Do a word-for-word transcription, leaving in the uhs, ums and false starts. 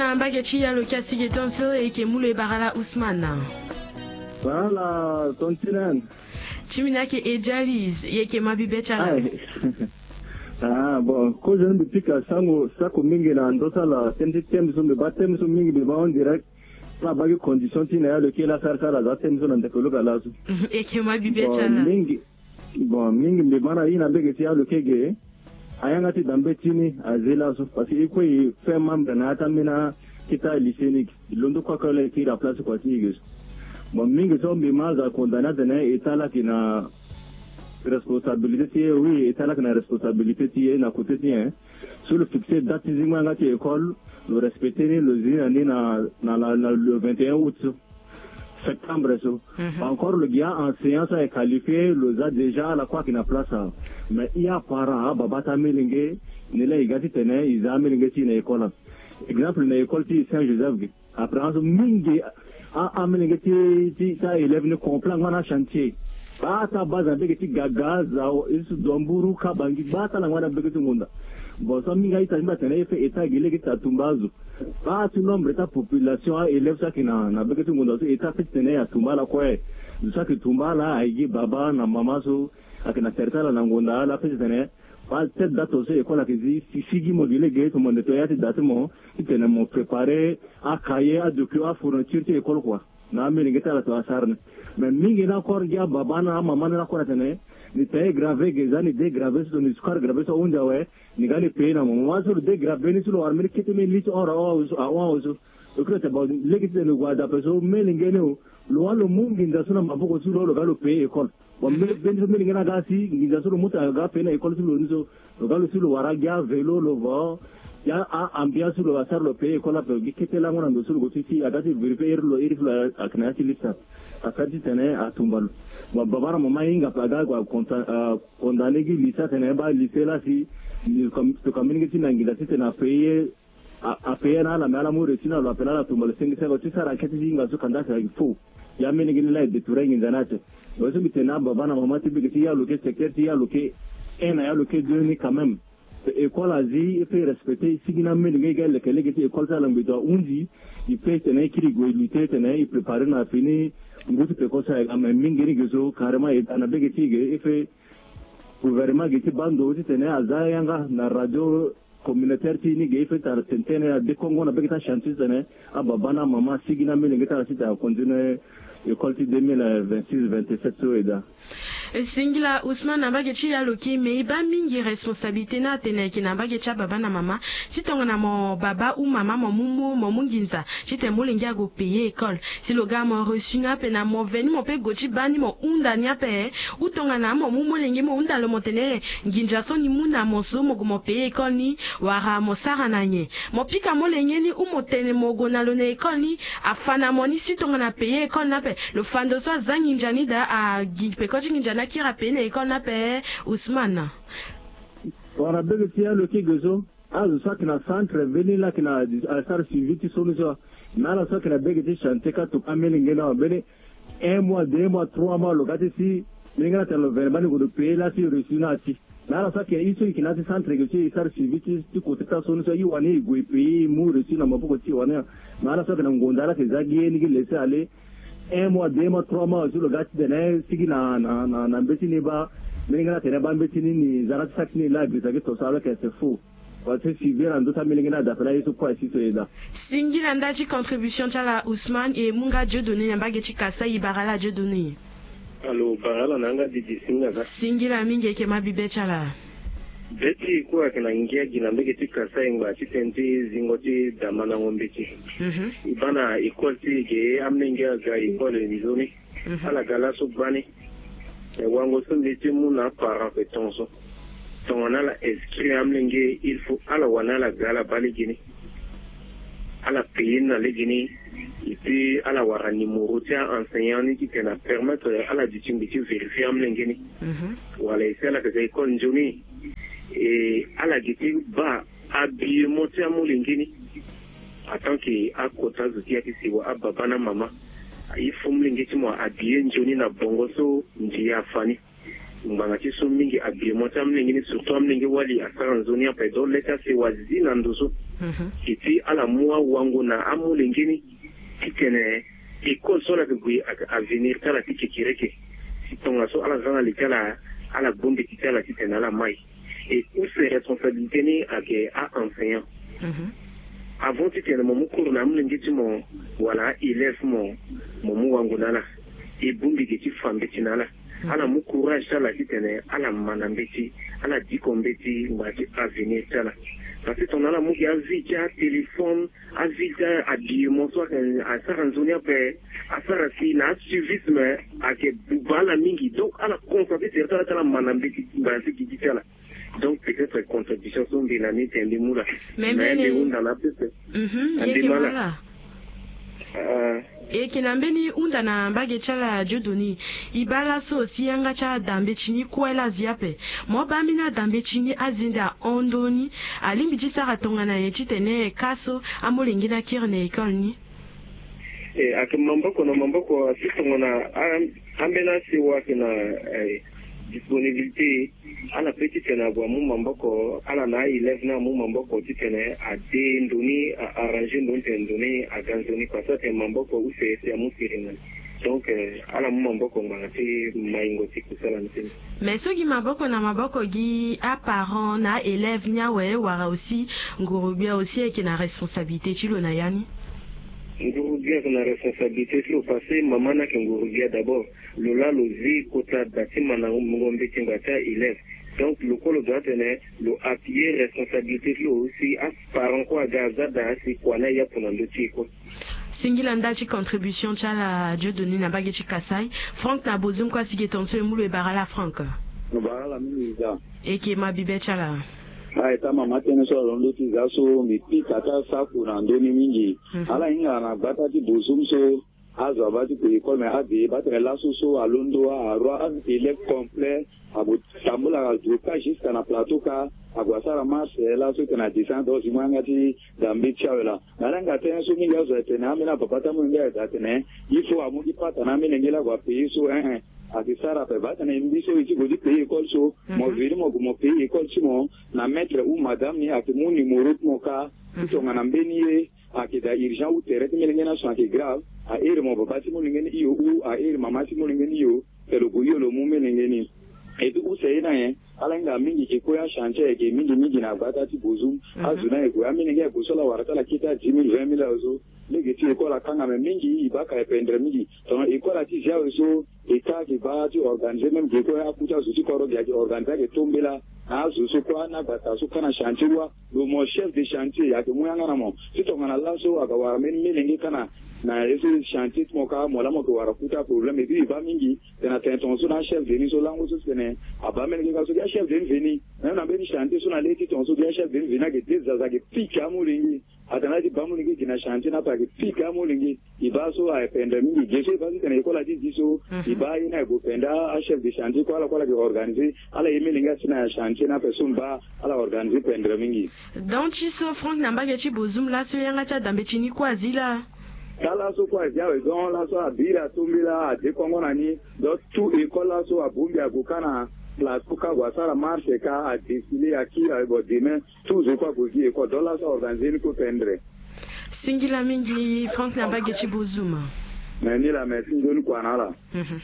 Na mbage ti yalo kia sige tonso e yeke mu lo e bara la Ousmane. Bara la tontinan. Ti mbi na yeke Ejalis, e yeke ma bibe ti ala. Ah bon, kozo ni mbi pika sango sako mingi na ndo ti ala tënë ti tënë so mbi baa tënë so mingi mbi baa en direct. Ala baa gi condition ti na yalo kiri la sara ti ala za tënë so na ndeke lo ka laso. E yeke ma bibe ti ala. Mingi. Bon, mingi mbi baa na ye na mbege ti yalo kege. Ayanga ti da mbeti ni azi laso parce que e kue e fait membre na ya ti ambeni akita lycée ni gi. Londo kue akue la e kiri na place kua ti e ge so. Bon, mingi so mbi ma aza condamné atene état laki na responsabilité ti e. Oui, état laki na responsabilité ti e na côté ti e. So lo fixé date ti zingo yanga ti école, lo respecté ni, lo zi na ni na na la na le vingt et un août so, septembre so. Encore lo gi a-enseignant so aye qualifié, lo za déjà ala kue ayeke na place awe. Mais i aparent, ababa ti amilenge, ni laa e ga titene e za amilenge ti e na école awe. Exemple na école ti Saint Joseph ge. Après azo mingi a amilenge ti ti ti a-élève ni complet angba na chantier. Baa ti abase na mbege ti Gaga, Zao, Esu, Domburu, Kabangi, baa ti ala angba na mbege ti Ngonda. Bon so mingi a-ita ti mbi atene e fait état gi lege ti atumba azo. Baa ti nombre ti apopulation a-élève so ayeke na na mbege ti Ngonda so état ape titene e atumba ala kue. Zo so ayeke tumba ala aye gi baba na mama so ayeke na tere ti ala na Ngonda, ala ape titene Baa ti tête date so école ayeke zi si sigi mo gi lege, tomo nde to ya ti da ti mo titene mo préparer acahier, adocument, afourniture ti école kua. Na amilenge ti ala to asara ni. Mais mingi ni akore gi ababa na amama ni lakue na tene ni taille grave ge, za ni dégravé so tongana ni sukari grave so ahunzi awe. Ni ga ni payer na mo. Mo wani so lo dégravé ni so lo wara mbeni kete mbeni litre hon ahon awe so. Lo kiri na tene bon lege titene lo gue na dape so melenge ni o. Lo wani lo mu nginza so na maboko ti lo, lo ga lo payer école. Bon, mbeni so mbeni nga na ga si nginza so lo mu tara lo ga payer na école ti lo ni so, lo ga lo si lo wara gi avélo, lo vo gi a-ambiance so lo asara lo payer école ape. Gi kete lango na ndo so lo go ti si aga ti vérifier iri lo iri ti lo ayeke na ya ti liste ape. Asara titene atumba lo. Bon, baba na mama ahinga ape aga ague a condamné gi lycée atene baa lycée laa si toka mingi ti na nginza titene apayer a, apayer na ala, me ala mu réussi na lo, ape na ala tumba lo sengi sengo ti sara enquête ti hinga so kanda si ayeke faux. Ya mbeni gi ni laa e détourner nginza ni ate. Lo so mbi tene na baba na mama ti bege ti ya lo ke secteur ti ya lo ke un na ya lo ke deux ni quand même. École azi e fait respecter sigi na mbeni gi e ga e leke lege ti école ti ala ngbe to ahunzi. E pe tene e kiri gue e lutter tene e préparer na fini ngu ti peko so aye ga, mais mingi ni ge so carrément e da na bege ti e ge e fait gouvernement ge ti baa ndo titene aza yanga na radio communautaire ti ni ge e fait tara tene tene adekongo na bege ti achantier titene ababa na amama asigi na amilenge ti ala titene acontinuer école ti deux mille vingt-six vingt-sept so e daa. Singila Ousmane na mbage ti ya lo ke me e baa mingi responsabilité ni atene ayeke na mbage ti ababa na mama. Si tongana mo baba ou mama mo mu mo mo mu nginza titene molenge ague payer école. Si lo ga mo reçu ni ape na mo veni mo pe gue ti baa ni mo hunda ni ape. Ou tongana mo mu molenge mo hunda lo mo tene nginza so ni mu na mo so mo gue mo payer école ni wala mo sara na nyen? Mo pika molenge ni ou mo tene mo gue na lo na école ni afa na mo ni si tongana payer école ni ape. Lo fa ndo so aza nginza ni daa agi peko ti nginza ni akiri apayer na école ni ape. Ousmane. Wala bege ti ya lo ke ge so. Azo so ayeke na centre mbeni laa ayeke na asara suivi ti so ni so. Na ala so ayeke na bege ti chantier ka toka mbeni nge na mbeni un mois deux mois trois mois lo ga ti si. Mbeni nge na tene lo vene mbani gue lo payer laa si reçu na ati. Na ala so ayeke ye so e yeke na ya ti centre ge so e sara suivi ti ti kote ti aso ni so e wani e gue e payer e mu reçu na maboko ti e wani. Na ala so ayeke na ngonda ala yeke za gi ye ni gi laisser aller. Un mois deux mois trois mois aussi lo ga titene sigi na na na mbeti ni baa. Mbeni nge na tene baa mbeti ni ni za na ti saki ni laa agresa gi to so ala yeke c'est faux. Parce que suivi na ndö ti amilenge ni adape laa ye so kue asi so e daa. Singila nda ti contribution ti ala Ousmane e mu nga Dieudonné na mbage ti Kasaï e bara ala Dieudonné. Alo bara ala na yanga didi singila. Singila mingi e yeke ma bibe ti ala. Be ti e kue ayeke na ngia gi na mbege ti Kasaï ngba ti tënë ti zingo ti damandango mbeti. E baa na école ti e ge amolenge aga école nzoni. Ala ga laso gbani. Me wango so mbi ye ti mu na aparent ape tongaso. Tongana ala inscrit amolenge il faut ala wani ala ga ala baa legeni. Ala payer ni na legeni. Et puis ala wara numéro ti a-enseignant ni titene apermettre ala duti ngbi ti vérifier amolenge ni. Wala e si ala yeke ga école nzoni. E ala gi ti baa habillement ti amolenge ni. En tant que akota zo ti ya ti sewa ababa na mama. Il faut molenge ti mo ahabiller nzoni na bongo so ndia afa ni. Ngbanga ti so mingi habillement ti amolenge ni, surtout amolenge wali asara nzoni ape. Donc le ti asewa azi na ndo so, e ti ala mu awango na amolenge ni titene école so ala yeke gue ayeke avenir ti ala ti kekereke. Si tongaso ala za na li ti ala, ala gbu mbeti ti ala titene ala mai. E use responsabilité ni ayeke a-enseignant. Avant titene mo mu cours na amolenge ti mo wala a-élève mo, mo mu wango na ala. E bongbi ge ti fa mbeti na ala. Ala mu courage ti ala titene ala ma na mbeti, ala diko mbeti ngbanga ti avenir ti ala. Parce que tongana ala mu ge avi ti atéléphone, avi ti ahabillement so ayeke asara nzoni ape, asara si na asuivisme ayeke buba ala mingi. Donc ala consacrer tere ti ala ti ala ma na mbeti ngbanga ti gigi ti ala. Donc peut-être contribution so mbi na ni tene mbi mu laa. Mais mbi hunda na pepe. Mhm, yeke ma laa. Ah. E yeke na mbeni hunda na mbage ti ala Dieudonné. E baa laso si yanga ti adambe ti ni kue laa azi ape. Mo baa mbeni adambe ti ni azende ahon ndoni. Alingbi ti sara tongana nyen titene ka so amolenge ni akiri na école ni? E ayeke maboko na maboko, asi tongana a, ambeni asewa ayeke na, eh, disponibilité, ala pe titene ague amu maboko, ala na a-élève ni amu maboko titene ade ndo ni, a-arranger ndo ni titene ndo ni aga nzoni kua so atene maboko use si amu siriri na ni. Donc, eh, ala mu maboko ngbanga ti maingo ti kusala ni ti ni. Mais so gi maboko na maboko gi aparent na élève ni awe wala aussi nguru-gbia aussi ayeke na responsabilité ti lo na ya ni? Nguru-gbia ayeke na responsabilité ti lo parce que mama ni ayeke nguru-gbia d'abord. Lo laa lo zi kota da ti ma na ngombe ti ngbanga ti a-élève. Donc lo kue lo doit tene lo appuyer responsabilité ti lo si aparent kue aga aza da si kua ni ayapu na ndö ti e kue. Singila ndali ti contribution ti ala Dieudonné na mbage ti Kasaï. Franck na Bozum kue asi ge tongaso e mu lo e bara ala Franck. Lo bara ala mingi za. E yeke ma bibe ti ala. Aye, tama ma tënë so alondo ti za so mbi pika ti asaku na ndö ni mingi. Mhm. Ala hinga na gbata ti Bozum so azo abaa ti kue école, mais ade baa tene laso so alondo a-aroi a-élève complet. Ague tambula ague ka jusqu'à na plateau ka, ague asara marche laso tene adescend donc si mo yanga ti da mbeti ti awe laa. Na ala hinga tënë so mingi azo atene ambeni ababa ti amolenge aye daa atene il faut amu gi pata na amolenge laa ague apayer so, eh, eh. Ayeke sara ape baa tene mbi so e ti gue ti payer école so, mo veni mo gue mo payer école ti mo na maître ou madame ni ayeke mu numéro ti mo ka. Ti tongana mbeni ye ayeke daa urgent ou tere ti melenge ni aso ayeke grave, a-iri mo baba ti molenge ni hio ou a-iri mama ti molenge ni hio, tene lo gue hio lo mu melenge ni. Et puis use ye ni ayen, ala hinga mingi ke kue achantier ayeke mingi mingi na gbata ti Bozum. Azo ni aye gue, amolenge aye gue so ala wara ti ala kete a dix mille, vingt mille awe so. Lege ti école akanga, me mingi e baa ka ependre mingi. Tongana école ati zia awe so, État ayeke baa ti organiser même ge kue aku ti azo ti kodro ge ayeke organiser ayeke tombela na azo so kue na agbata so kâ na chantier wa. Lo mo chef de chantier ayeke mu yanga na mo. Ti tongana laso aga wara mbeni melenge kâ na na ye so chantier ti mo kâ, mo laa mo yeke wara ku ti aproblème. Et puis e baa mingi tene atene tongaso na achef de ni so lango so si tene abaa melenge kâ so gi achef de ni veni. Même na mbeni chantier so na le ti tongaso gi achef de ni veni ayeke de zaza ayeke pike amolenge. Atene ala ti baa amolenge gi na chantier ni ape ayeke pike amolenge. E baa so aye pendre mingi. Ge so e baa so tene école ati zi so, e baa ye ni aye gue pendre achef de chantier kue, ala kue ala yeke organiser ala ye melenge asi na chantier ni ape so mbi baa ala organiser pendre mingi. Donc ti so Franck na mbage ti Bozum laso yanga ti adambe ti ni kue azi laa. Ka laso kue azi awe, donc laso abiri atombela adekongo na ni. Donc tout école laso abongbi ague kâ na plateau kâ ague asara marche kâ adéfiler akiri awe, bon demain tout zo kue ague gi école. Donc laso aorganiser ni kue pendre. Singila mingi Franck na mbage ti Bozum. Mais ni laa, merci nzoni kua na ala. Mhm.